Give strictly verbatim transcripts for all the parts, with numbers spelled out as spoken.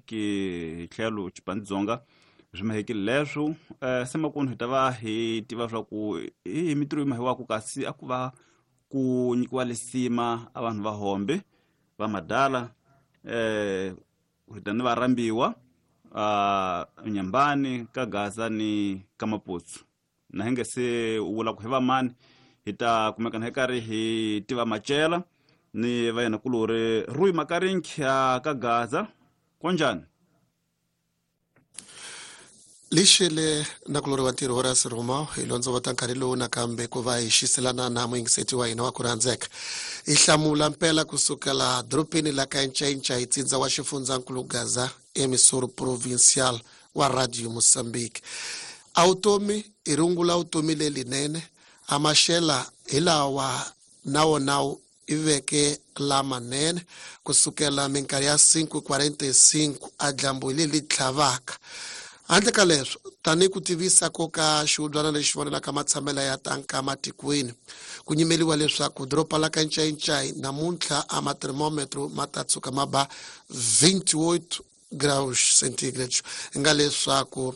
Mozambique hi tlhelo Chipandzonga swi mahekile leswo eh se makunu hi ta va hi tiva swa ku hi mitirho yi mahiwaku kasi a ku va ku nyikiwa lisima a vanhu va hombe va madala eh hi ta ni varhambiwa a Nyambani ka Gaza ni ka Maputsu na hi nge se vula ku hi va mani hi ta kumekana hi karhi hi tiva Machela ni va yena kulori Rui Makarinki ka Gaza konjani lixile na kulori wa ntirho Horace Roma hi londzovota nkarhi lowu nakambe ku va hi xiselana na muyingiseti wa hina wa ku rhandzeka hi hlamula mpela kusukela dorobeni la ka Ncainca tsindza wa xifundzankulu Gaza emissor provincial wa Radio Mozambique. A vutomi i rungula vutomi lelinene a maxela hi lawa na wona i veke lamanene kusukela minkarhi ya cinco quarenta e cinco a dyambu leri tlhavaka. Handle ka leswo tanihi ku tivisa ko ka xihubyana lexi vonelaka matshamelo ya tanka matikweni ku nyimeliwa leswaku doroba la ka Ncainca namuntlha a mathermometro ma ta tshuka ma ba vinte e oito graus centígrados nga leswaku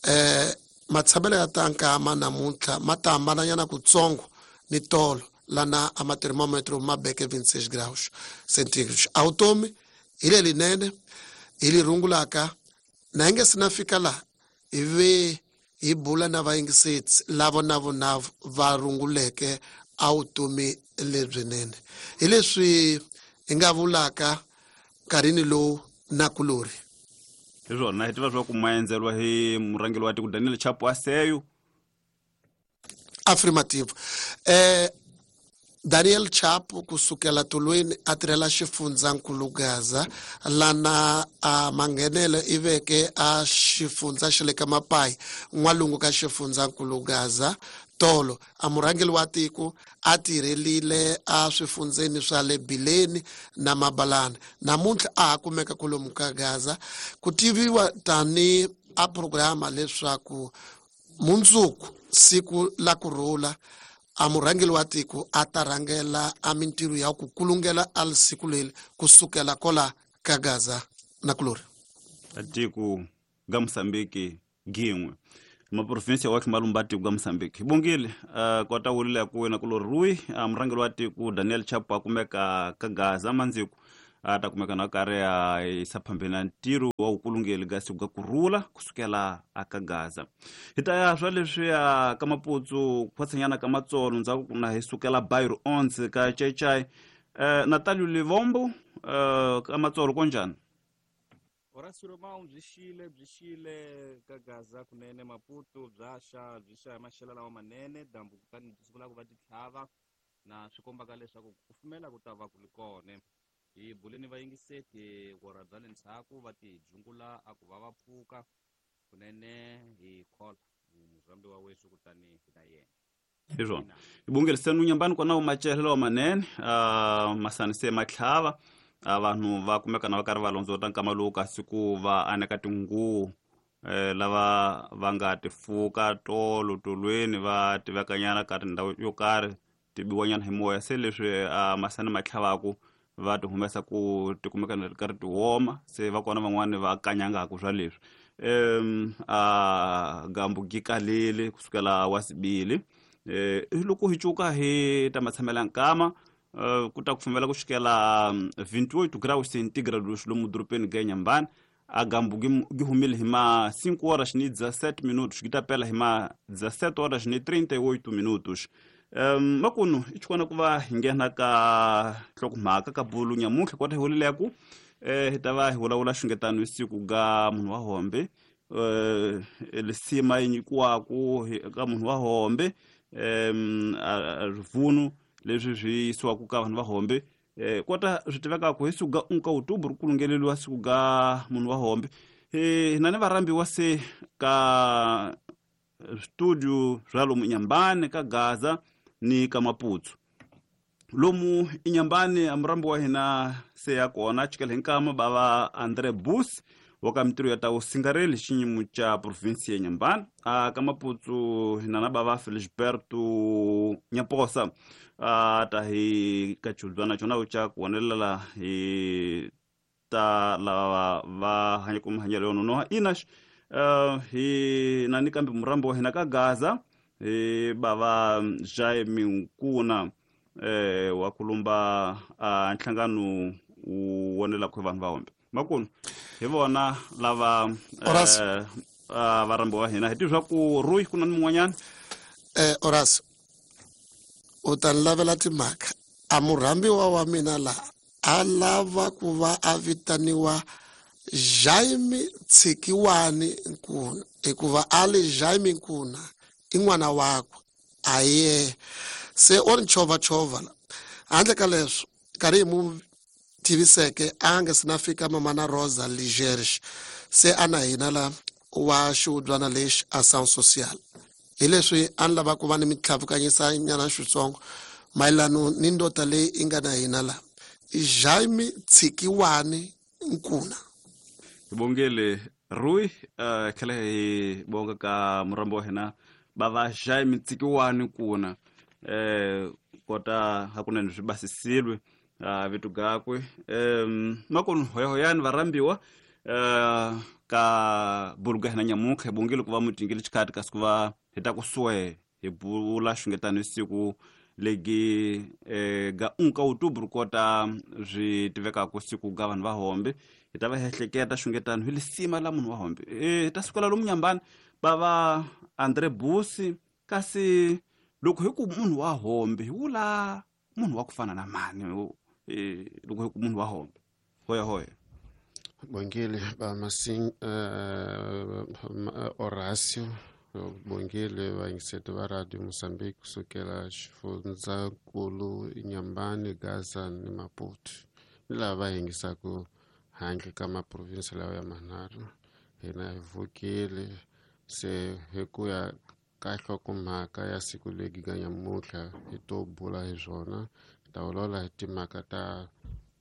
eh matshamelo ya tanka ma namuntlha ma ta hambananyana kutsongo ni tolo lana a mathermometro ma beke vinte e seis graus centígrados. A vutomi hi lelinene hi li rungulaka na hi nge se na fika laha hi ve hi bula na vayingiseti lava na vona va runguleke a vutomi lebyinene hi leswi hi nga vulaka nkarhini lowu na kulori hi swona hi tiva swa ku maendzeriwa hi murhangeri wa tiko Daniel Chapo Aseyo affirmative eh Daniel Chapo kusukela tolweni a tirhela xifundzankulu Gaza lana a manghenelo i veke a xifundza xa le ka Mapai n'walungu ka xifundzankulu Gaza tolo a murhangeri wa tiko a tirhelile a swifundzeni swa le Bileni na Mabalana namuntlha a ha kumeka kwalomu ka Gaza ku tiviwa tani a programa leswaku mundzuku siku la kurhula a murhangeri wa tiko a ta rhangela a mintirho ya ku kulungela a siku leri kusukela kola ka Gaza na kulori tiko ga Mozambique gin'we maprovinsi ya malumba tiko ga Mozambique hi bongile uh, kota wulile ku wena kulori Rui uh, murhangeri wa tiko Daniel Chapo a kumeka ka Gaza mandziku a ta kumeka na karhi a yisa phambeni na ntirho wa vukulungeli ga siku ga kurhula kusukela aka Gaza hi ta ya swa leswiya ka Maputsu khwatsanyana ka Matsolo ndzhaku ku na hi sukela Bairro onze ka Chechai eh, Natalio Livombo eh, ka Matsolo konjani Horace Roma byi xile byi xile ka Gaza kunene Maputo bya xa byi xa hi maxelo lawa manene dyambu kutani byi sungula ku va ti tlhava na swi kombaka leswaku ku kufumela ku ta va ku ri kona hi buleni vayingiseti vora bya le ndzhaku va ti jungula a ku va va pfuka kunene hi khola muzambi wa wesu kutani hi na yena hi swona hi bongeliseni Nyambani kona Machela lawa manene uh, masani se matlhava a vanhu va kumeka na va karhi va londzota nkama lowu kasi ku va aneka tinguvu eh, lava va nga tifuka tolo tolweni va tivekanyana ka tindhawu yo karhi ti biwanyana hi moya se leswi uh, masani ma tlhavaku va ti humesa ku ti kumeka na ri karhi ti woma se va kona van'wani va kanyangaku swa leswi um a gambu gi kalele kusukela wa sibili eh loko hi cuka hi ta matshamela nkama uh, ku ta kufumela ku xikela vinte e oito graus centígrados lomu dorobeni ga Nyambani a gambu gi humile hi ma cinco horas ni dezessete minutos gi ta pela hi ma dezessete horas ni trinta e oito minutos. Um, makunu i chikona ku va hi nghena ka nhlokomhaka ka bulu nyamuntlha kota hi vulileku eh hi ta va hi vulavula xungetano hi siku ga munhu wa hombe eh lisima yi nyikiwaku ka munhu wa hombe em rivunu leswi swi yisiwaku ka vanhu va hombe eh kota swi tivekaku hi siku ga um ka outubro ku lungeleliwa siku ga munhu wa hombe eh na ni varhambiwa se ka studio swa lomu Nyambani ka Gaza ni ka Maputsu lomu inyambani amurambi wa hina se ya kona chikele hinkama bava André Bus wa ka mitirho ya ta vusingareli xiyimo xa provinsi ya Nyambani a ka Maputsu hina na bava Felisberto Nyaposa a ta hi ka chudzwana chona xa ku vonelela hi ta lava va hanyaka mahanyelo yo nonoha ina uh, hi na ni kambe murambo wa hina ka Gaza hi bava Jaime Nkuna eh wa kulumba uh, nhlangano wu wonelaka hi vanhu va hombe makunu hi vona lava eh, uh, varambo wa hina hi tiva ku Rui ku na ni mun'wanyana eh Horace u ta lavela timhaka a murhambiwa wa mina la a lava ku va a vitaniwa Jaime Tshikiwani Nkuna hikuva a li Jaime Nkuna i n'wana wakwe a ye se o ri chovachovha la handle ka leswo nkarhi hi mu tiviseke a nga se na fika mamana Rosa Ligerge se a na hina la wa xihubyana lexi a sound social hi leswi a ni lava ku va ni mitlhavukanyisa nyana xitsongo mayelano ni ndota leyi i nga na hina la Jaime Tshikiwani Nkuna. Hi bongele Rui uh, tlhela hi bonga ka murambo wa hina bava Jaime Tshikiwani Nkuna eh kota hakunene swi basisiwe uh, vitu gakwe um makonu hoyahoyani varhambiwa uh, ka buluga hina nyamunkha hi bongile ku va mutingile xikhati kasi ku va hi ta ku suwe hi bula xungetano siku legi eh, ga unka outubro kota swi tivekaka siku ga vanhu va hombe hi ta va hi ehleketa xungetano hi lisima la munhu wa hombe eh, hi ta sukela lomu nyambani va va Andre Busi kasi loko hi ku munhu wa hombe hi vula munhu wa ku fana na mani eh, loko hi ku munhu wa hombe hoya hoya. Bongile ba Masing uh, Horacio bongile vayingiseti va Radio Mozambique kusukela xifundzankulu Inhambane, Gaza ni Maputo ni lava va yingisaka handle ka maprovinsi lawa ya manharhu. Hina hi vukile se hi ku ya ka nhlokomhaka ya siku legi ga nyamuntlha hi to bula hi swona hi ta vulavula hi timhaka ta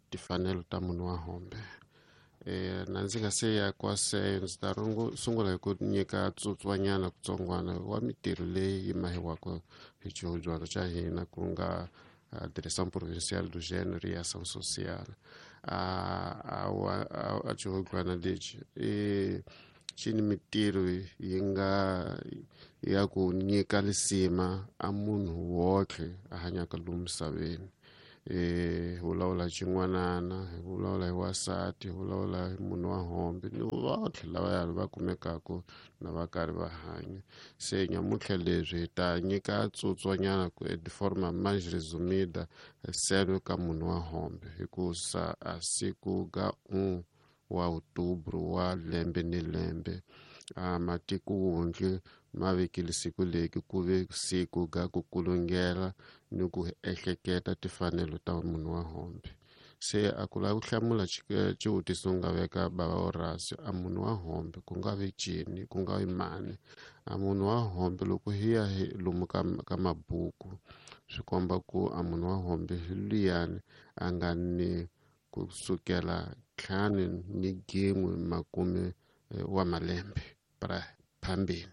timfanelo ta munhu wa hombe. Eh na ndzi nga se ya kwaseyo ndzi ta sungula hi ku nyika tsutswanyana kutsongwana wa mitirho leyi yi mahiwaka hi xihubyana xa hina ku nga Direção Provincial do Gênero e Ação Social. A a xihubyana lexi i xi ni mitirho yi nga ya ku nyika lisima a munhu wotlhe a hanyaka lomu misaveni. Eh vulavula xin'wanana hi vulavula hi wansati hi vulavula hi munhu wa hombe ni votlhe lavaya va kumekaka na va karhi va hanya. Se nyamuntlha leswi hi ta nyika tsutswanyana ku de forma mais resumida selo ka munhu wa hombe hikusa a siku ga um wa outubro wa lembe ni lembe a matiko wonke ma vekile siku leki ku ve siku ga ku kulungela ni ku ehleketa timfanelo ta munhu wa hombe. Se a ku lava ku hlamula xivutiso nga veka bava Horacio a munhu wa hombe ku nga vi cini ku nga vi mani a munhu wa hombe loko hi ya hi lomu ka ka mabuku swi komba ku a munhu wa hombe hi luyani a nga ni kusukela ntlhanu ni gin'we makume wa malembe para phambili.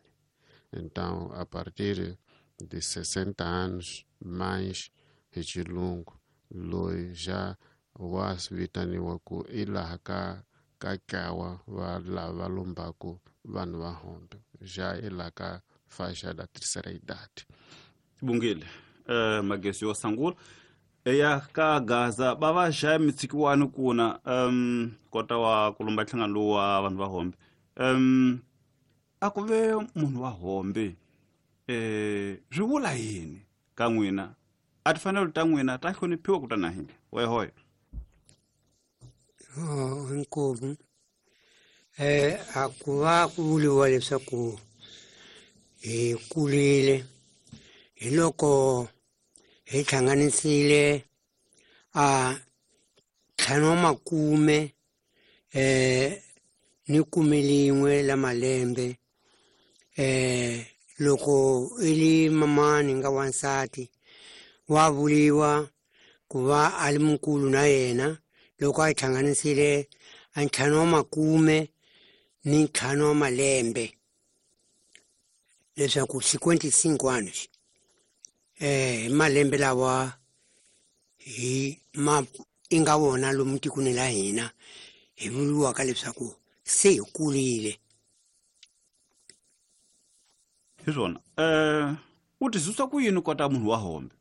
Então, a partir de sessenta anos mais hi xilungu loyi xa wa vitaniwa ku i laha ka ka ntlawa va lava lombaku vanhu va hombe xa i laha ka faixa da terceira idade. Bungile eh, magesi yo sangula eya ka Gaza va va Jaime Tshikiwani Nkuna um kota wa kulumba nhlangano lowu wa vanhu va hombe um a ku ve munhu wa hombe eh swi vula yini ka n'wina a timfanelo ta n'wina ta hloniphiwa ku ta na hina hoya hoya. Oh inkomu eh a ku va ku vuriwa leswaku hi kulile hi loko hi hlanganisile a ntlhanu wa makume eh ni khume lin'we la malembe eh loko i li mamani nga wansati wa vuriwa ku va a li mukulu na yena loko a hlanganisile a ntlhanu wa makume ni ntlhanu wa malembe leswaku cinquenta e cinco anos eh malembe lawa hi ma i nga wona lomu tikweni la hina hi vuriwaka leswaku se hi kurile. Hi swona. Eh u tizwisa ku yini kota munhu wa hombe?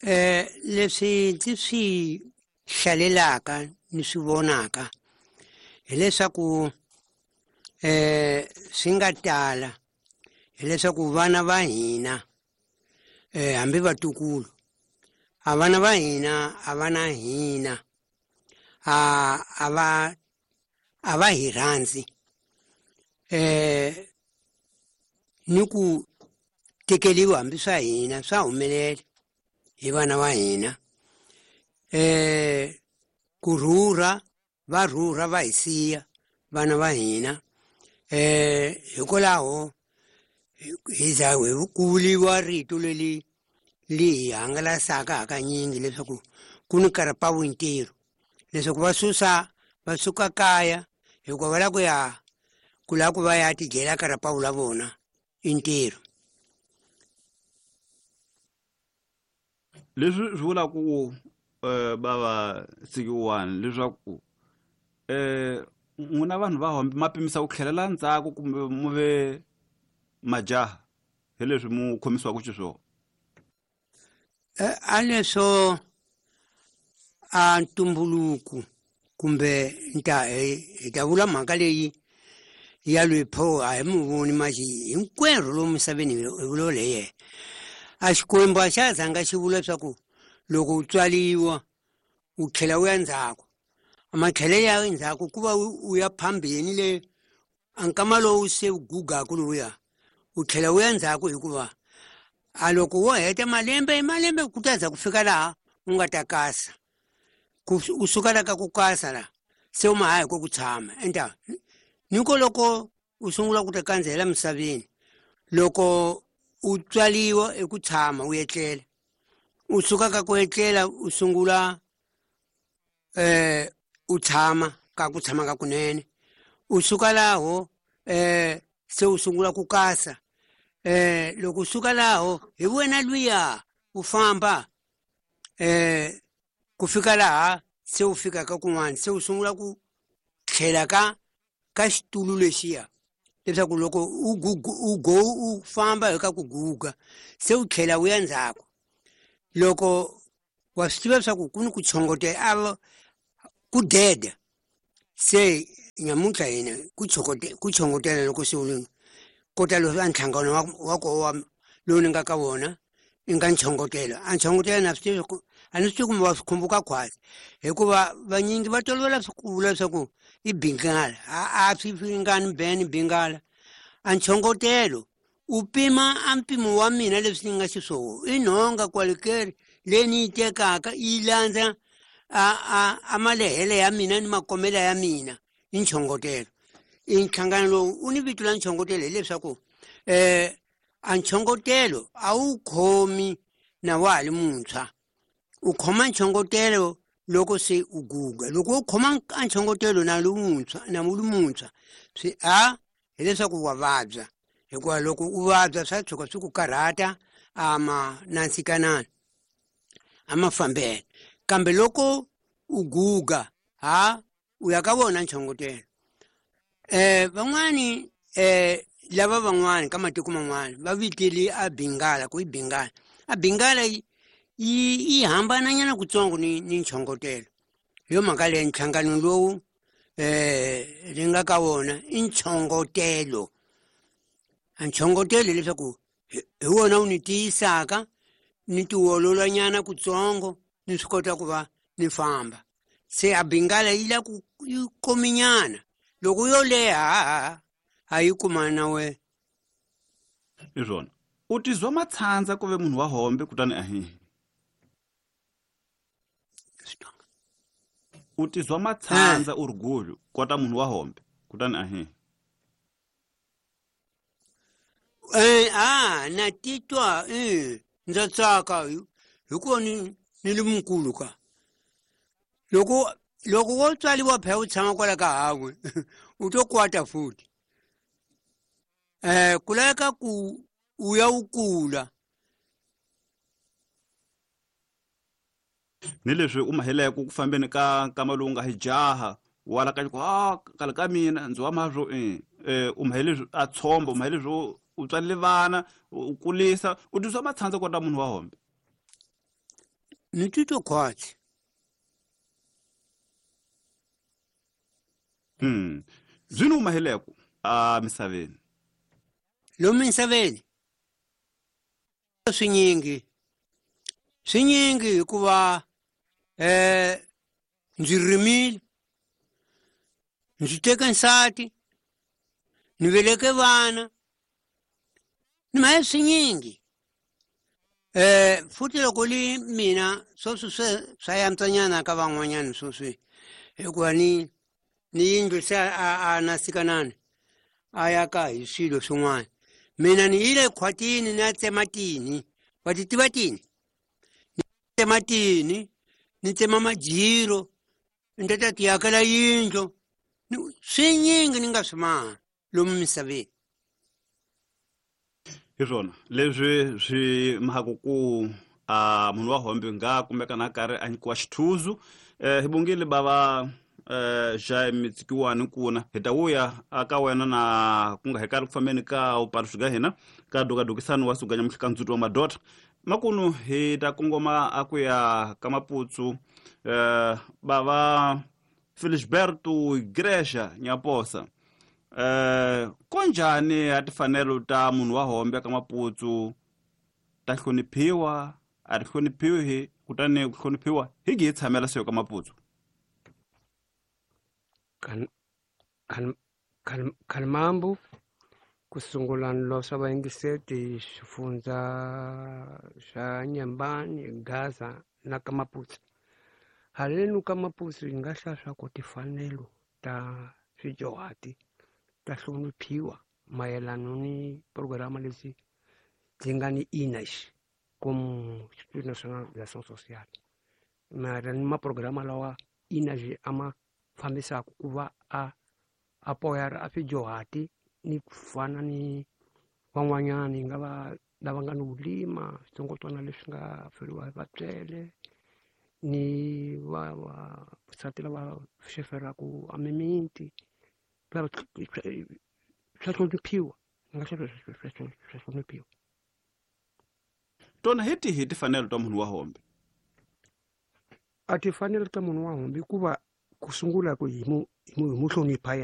Eh leswi ndzi swi hlalelaka ni swi vonaka hileswaku eh swi nga tala hileswaku vana va hina eh hambi vatukulu a vana va hina a vana hina a a va a va hi rhandzi eh ni ku tekeliwa hambi swa hina swa humelela hi vana va hina eh ku rhurha va rhurha va hi siya vana va hina eh hikwalaho hi za ku vuriwa rito leri li hi hangalasaka hakanyingi leswaku ku ni karapawu ntirho leswaku va susa va suka kaya hikuva va lava ku ya ku lava ku va ya tidyela karapawu la vona i ntirho. Leswi swi vula ku eh bava sikiwani leswaku eh n'wina vanhu va hombe ma pimisa ku tlhelela ndzhaku kumbe mu ve majaha hi leswi mu khomisiwaka xiswona? Eh a leswo a ntumbuluko kumbe nta hi ta vula mhaka leyi ya loyi pho a hi mu voni maxi hinkwerhu lomu misaveni hi vulavula hi yena. A Xikwembu a xa zanga xi vula leswaku loko u tswaliwa u tlhela u ya ndzhaku a matlhele ya ndzhaku ku va u ya phambeni le a nkama lowu se u gugaku lowuya u tlhela u ya ndzhaku hikuva a loko wo heta malembe malembe ku ta za ku fika laha u nga ta kasa ku u suka la ka ku kasa la se u ma ha hi ko ku tshama enta niko loko u sungula ku ta kandzela misaveni loko u tswaliwa eku tshama u etlela u suka ka ku etlela u sungula eh u tshama ka ku tshama ka kunene u suka laho eh se u sungula ku kasa eh loko u suka laho hi wena luya u famba eh ku fika laha se u fika ka kun'wana se u sungula ku tlhela ka ka xitulu lexiya leswaku loko u u go u famba hi ka ku guga se u tlhela u ya ndzhaku loko wa swi tiva leswaku ku ni ku chongotela a ku deda se nyamuntlha hina ku chokote ku chongotela loko se u kota leswi a nhlangano wa wa ko wa lowu ni nga ka wona i nga nchongotelo a nchongotelo na swi tivi ku a ni swi tivi kumbe wa swi khumbuka khwatsi hikuva vanyingi va tolovela ku vula leswaku i bingala a a swi ringani beni bingala a nchongotelo u pima a mpimo wa mina leswi ni nga xiswona i nhonga kwalekeri leyi ni yi tekaka yi landza a a a malehele ya mina ni makomela ya mina i nchongotelo i nhlangano lowu u ni vito la nchongotelo hileswaku eh a nchongotelo a wu khomi na wa ha li muntshwa u khoma nchongotelo loko se u guga loko u khoma a nchongotelo na lowuntshwa na wu li muntshwa swi a hileswaku wa vabya hikuva loko u vabya swa tshuka swi ku karhata a ma nantsikanani a ma fambela kambe loko u guga ha u ya ka vona nchongotelo eh van'wani eh lava van'wani ka matiko man'wani va viteli a bingala ku i bingala a bingala yi yi hambananyana kutsongo ni ni nchongotelo hi yo mhaka leyi nhlangano lowu eh ri nga ka wona i nchongotelo a nchongotelo leswaku hi wona wu ni tiyisaka ni tiololanyana kutsongo ni swi kota ku va ni famba se a bingala yi la ku yi kominyana loko yo leha a yi kumana na wena. Hi swona u tizwa matshandza ku ve munhu wa hombe kutani ahi u tizwa matshandza u ri gulu kota munhu wa hombe kutani ahi eh a na titwa eh ndza tsaka hikuva ni ni li mukulu ka loko loko wo tswaliwa phela u tshama kwala ka hawe u to kwata futhi eh ku laveka ku u ya u kula. Ni leswi u maheleke ku fambeni ka nkama lowu nga hi jaha wala ka ku ah kala ka mina ndzi wa mazwo eh u mahele a tshomba u mahele zwo u tswalile vana u kulisa u twiswa matshandza kota munhu wa hombe. Ni titwa khwatsi. Hmm. Zwino u maheleko a misaveni. Lomu misaveni swinyingi swinyingi hikuva eh ndzi rimile, ndzi teke nsati, ni veleke vana, ni mahe swinyingi. Eh futhi loko li mina sweswi swe swa yantswanyana ka van'wanyana sweswi hikuva ni ni yindlu se a a na sikanani a ya ka hi swilo swin'wana. Mina ni yile khwatini ni ya tsema tini, wa ti tiva tini? Ni tsema tini, ni tsema majiro, ni ta ta ti akela yindlu. Swinyingi ni nga swi maha lomu misaveni. Hi swona leswi swi mhaka ku a munhu wa hombe nga kumeka na karhi a nyikiwa xithuzu. Eh hi bongile bava eh Jaime Tsikiwani kuna hi ta vuya aka wena na ku nga hi karhi ku fambeni ka upaluxi ka hina ka dokadokisani wa suganya muhlikandzuti wa madota makunu hi ta kongoma a ku ya ka Maputsu. Eh bava Felisberto Igreja Nyaposa, eh konjani a tifanelo ta munhu wa hombe ka Maputsu ta hloniphiwa a ri hloniphiwi kutani ku hloniphiwa hi gi hi tshamela seyo ka Maputsu? Kan kan kan Kalmambu kusungula nlosa vayingiseti xifundza xa Nyambani, Gaza na ka Maputsu. Halenu ka Maputsu hi nga hlaya swa ku tifanelo ta swijohati ta hloniphiwa mayelana ni programa lexi byi nga ni I N A X como Instituto Nacional de Ação Social. Mara ni maprograma lawa I N A X a ma fambisaka ku va a apoyar a swijohati ni ku fana ni van'wanyani nga va lava nga ni vulima switsongwatsongwana leswi nga feriwa hi vatswele ni va vasati lava xeferaku a mimiti swa hloniphiwa, ni nga swa swa hloniphiwa. Tona hi tihi tifanelo ta munhu wa hombe? A tifanelo ta munhu wa hombe ku va ku sungula ku hi mu hi mu hlonipha yena.